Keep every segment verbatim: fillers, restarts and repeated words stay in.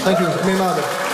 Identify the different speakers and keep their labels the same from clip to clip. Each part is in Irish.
Speaker 1: Thank you. Míle maith agat.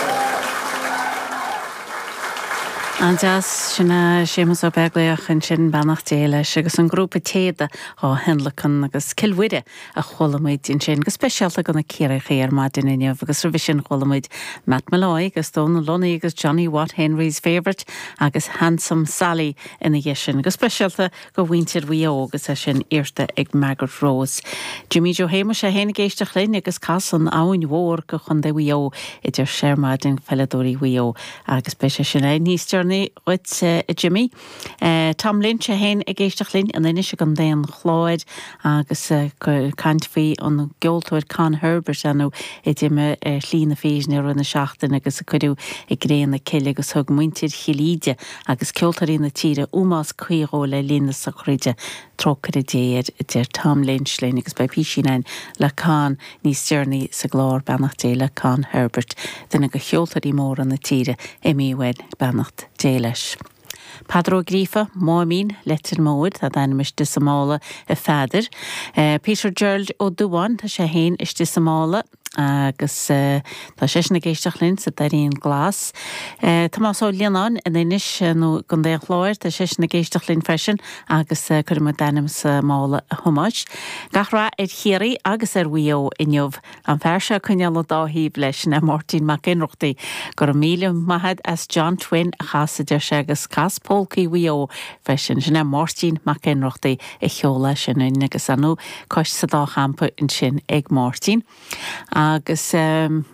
Speaker 2: An-deas sin é Séamus Ó Beaglaoich ansin beannacht Dé leis agus an grúpa Téada á thionlacan agus Cill Mhuire a chuala muid ansin go speisialta do na Ciarraíocha ar maidin inniu agus roimhe sin chuala muid Matt Molloy agus Dónal Lunny agus Johnny Watt Henry's Favourite agus Handsome Sally ina dhiaidh sin go speisialta do mhuintir Mhaigh Eo agus é sin iarrta ag Margaret Rose. Jimmy Joe Shéamuis é féin ag éisteacht linn agus cas an Abhainn Mhór go Chontae Mhaigh Eo a deir sé ar maidin peileadóirí Mhaigh Eo agus beidh sé sin é níos deireanaí dhuit eh, Jimmy. Eh, Tom Lynch é féin ag éisteacht linn in Inis i gContae an Chláir agus eh, caint faoi an gceoltóir Con Herbert anú a d'imigh ar shlí na fírinne i rith na seachtaine agus a cuireadh i gcré na cille agus thug muintir Chill Íde agus ceoltóirí na tíre ómós cuí dhó le linn na sochraide trócaire Dé air a deir Tom Lynch linn agus beidh písín againn le Con níos deireanaí sa gclár beannacht Dé le Con Herbert duine de cheoltóirí móra na tíre imithe uainn beannacht Dé leis. Peadar Ó Gríofa, Máimín, Leitir Móir, tá d'ainm istigh sa mála a Pheadair. Uh, Peter Gerald Ó Dubháin tá sé féin istigh sa mála agus uh, tá sé ag éisteacht linn sa Doirín Glas. Uh, Tomás Ó Lionáin in Inis nó i gContae an Chláir tá sé ag éisteacht linn freisin agus uh, cuirfidh muid d'ainm sa mála a Thomáis. Gach rath ar Chiarraí agus ar Mhaigh Eo inniu an fear seo coinneáil dá thaobh leis na Máirtín Mac Ionnrachtaigh go raibh míle maith agat as John Twin a chasadh deir sé agus cas Polcaí Mhaigh Eo freisin sin é Máirtín Mac Ionnrachtaigh a sheol sin in agus anú cois sa dá champa ansin ag Máirtín. Agus um,